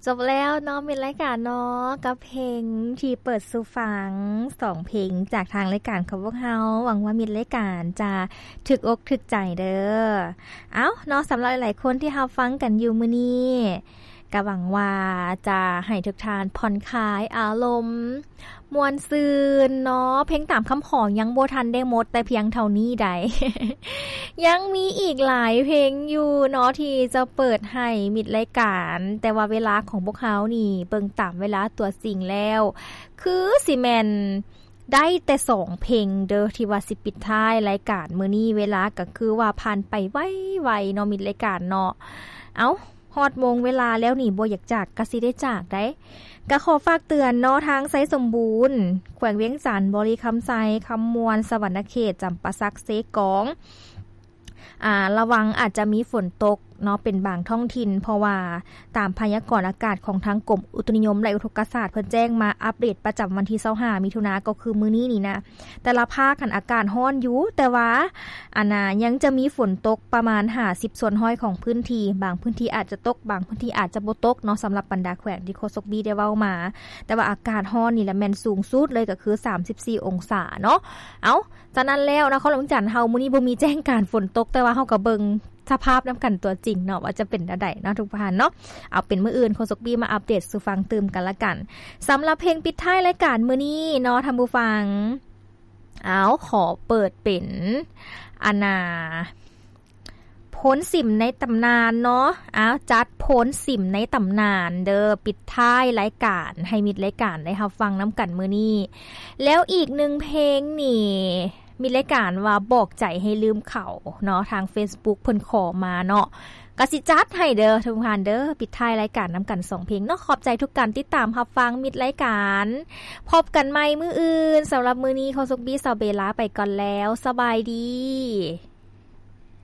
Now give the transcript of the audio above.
ຈົບແລ້ວເນາະ ມິດລາຍການເນາະ ກັບເພງທີ່ເປີດສູ່ຟັງ ສອງເພງຈາກທາງລາຍການຂອງພວກເຮົາ. ຫວັງວ່າມິດລາຍການຈະຖືກອົກຖືກໃຈເດີ. ເອົ້າເນາະ ສຳລັບຫຼາຍໆຄົນທີ່ຮັບຟັງກັນຢູ່ມື້ນີ້ ກະຫວັງວ່າຈະໃຫ້ທຸກທ່ານຜ່ອນຄາຍອາລົມ ມ່ວນຊື່ນເນາະ. ເພງຕາມຄຳຂໍຍັງບໍ່ທັນໄດ້ໝົດແຕ່ພຽງເທົ່ານີ້ໃດ ຍັງມີອີກຫຼາຍເພງຢູ່ເນາະ ທີ່ຈະເປີດໃຫ້ມິດລາຍການ, ແຕ່ວ່າເວລາຂອງພວກເຮົານີ້ ເບິ່ງຕາມເວລາຕົວຈິງແລ້ວ ຄືຊິແມ່ນໄດ້ແຕ່ສອງເພງເດີ ທີ່ວ່າຊິປິດທ້າຍລາຍການມື້ນີ້. ເວລາກໍຄືວ່າຜ່ານໄປໄວໆເນາະ ມິດລາຍການເນາະ. ເອົ້າ ຮອດໂມງເວລາແລ້ວນີ້ ບໍ່ຢາກຈາກກໍຊິໄດ້ຈາກໄດ໋. ກໍຂໍຝາກເຕືອນເນາະ ທາງໄຊສົມບູນ ແຂວງວຽງຈັນ, ບໍລິຄຳໄຊ, ຄຳມ່ວນ, ສະຫວັນນະເຂດ, ຈຳປາສັກ, ເຊກອງ ອາ ລະວັງອາດຈະມີຝົນຕົກເນາະ ເປັນບາງທ້ອງຖິ່ນ ເພາະວ່າຕາມພະຍາກອນອາກາດຂອງທາງກົມອຸຕຸນິຍົມ ແລະ ອຸທົກກະສາດ ເພິ່ນແຈ້ງມາອັບເດດປະຈຳວັນທີຊາວຫ້າ ມິຖຸນາ ກໍຄືມື້ນີ້ນີ້ນະ ແຕ່ລະພາກຫັ້ນອາກາດຮ້ອນຢູ່ ແຕ່ວ່າ ອັນນ່າ ຍັງຈະມີຝົນຕົກປະມານຫ້າສິບສ່ວນຮ້ອຍຂອງພື້ນທີ່, ບາງພື້ນທີ່ອາດຈະຕົກ ບາງພື້ນທີ່ອາດຈະບໍ່ຕົກເນາະ ສຳລັບບັນດາແຂວງທີ່ໂຄສົກບີໄດ້ເວົ້າມາ. ແຕ່ວ່າອາກາດຮ້ອນນີ້ລະແມ່ນສູງສຸດເລີຍ ກໍຄືສາມສິບສີ່ອົງສາເນາະ. ເອົ້າ ສະນັ້ນແລ້ວ ນະຄອນຫຼວງວຽງຈັນເຮົາມື້ນີ້ບໍ່ມີແຈ້ງການຝົນຕົກ ແຕ່ວ່າເຮົາກໍເບິ່ງສະພາບນຳກັນຕົວຈິງເນາະ ວ່າຈະເປັນແນວໃດເນາະ ທຸກທ່ານເນາະ. ເອົາ ເປັນມື້ອື່ນໂຄສົກບີມາອັບເດດສູ່ຟັງຕື່ມກັນລະກັນ. ສຳລັບເພງປິດທ້າຍລາຍການມື້ນີ້ເນາະ ທ່ານຜູ້ຟັງ ເອົາ ຂໍເປີດເປັນ ອັນນ່າ ໂພນສິມໃນຕຳນານເນາະ. ເອົາ ຈັດໂພນສິມໃນຕຳນານເດີ ປິດທ້າຍລາຍການ ໃຫ້ມິດລາຍການໄດ້ຮັບຟັງນຳກັນມື້ນີ້. ແລ້ວອີກໜຶ່ງເພງນີ້ ມິດລາຍການວ່າບອກໃຈໃຫ້ລືມເຂົາເນາະ ທາງເຟສບຸກເພິ່ນຂໍມາເນາະ ກໍຊິຈັດໃຫ້ເດີ ທຸກທ່ານເດີ. ປິດທ້າຍລາຍການນຳກັນສອງເພງເນາະ. ຂອບໃຈທຸກການຕິດຕາມຮັບຟັງມິດລາຍການ. ພົບກັນໃໝ່ມື້ອື່ນ. ສຳລັບມື້ນີ້ ໂຄສົກບີ ສາວເບ ລາໄປກ່ອນແລ້ວ. ສະບາຍດີ.